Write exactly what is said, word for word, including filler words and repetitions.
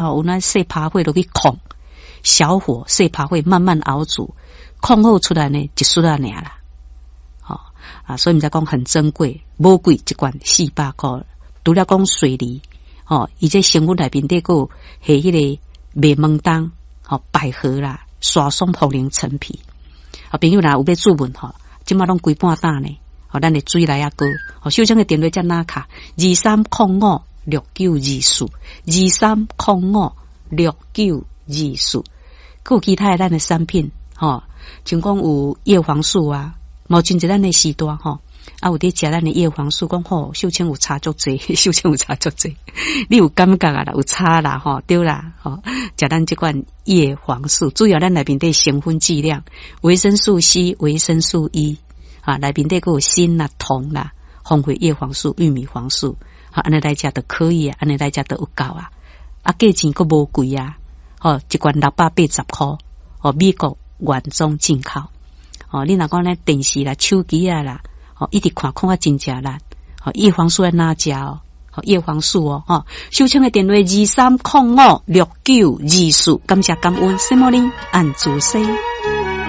吼，有那細趴火落去控，小火細趴火慢慢熬煮，控好出來呢，一匙仔爾啦。吼啊，所以毋知講很珍貴，無貴，一罐四百箍。除了講水梨，吼，伊這成分內面底閣有下彼個麥門冬，吼，百合啦，沙松、茯苓、陳皮。啊，朋友若有欲注文吼，這馬攏規半擔呢。吼，咱的水來仔高，吼，秀清的電話遮哪卡？二三空五六九二四，二三空五六九二四。閣有其他的咱的產品，吼，像講有葉黃素啊，嘛真濟咱的時代吼，啊有佇食咱的葉黃素，講吼，秀清有差足濟，秀清有差足濟，你有感覺啊啦，有差啦，吼，對啦，吼，食咱這款葉黃素，主要咱內面底成分劑量，維生素 C、維生素 E。啊，內面底閣有鋅啦、銅啦，豐富葉黃素、玉米黃素，好，按呢來食就可以啊，按呢來食就有夠啊，啊，價錢閣無貴啊，吼，一罐六百八十箍，哦，美國原裝進口，哦，你若講咧電視啦、手機啊啦，哦，一直看看啊真正力，哦，葉黃素愛哪食哦？葉黃素哦，吼，秀清的電話二三空五六九二四，感謝感恩，什麼呢？按主西。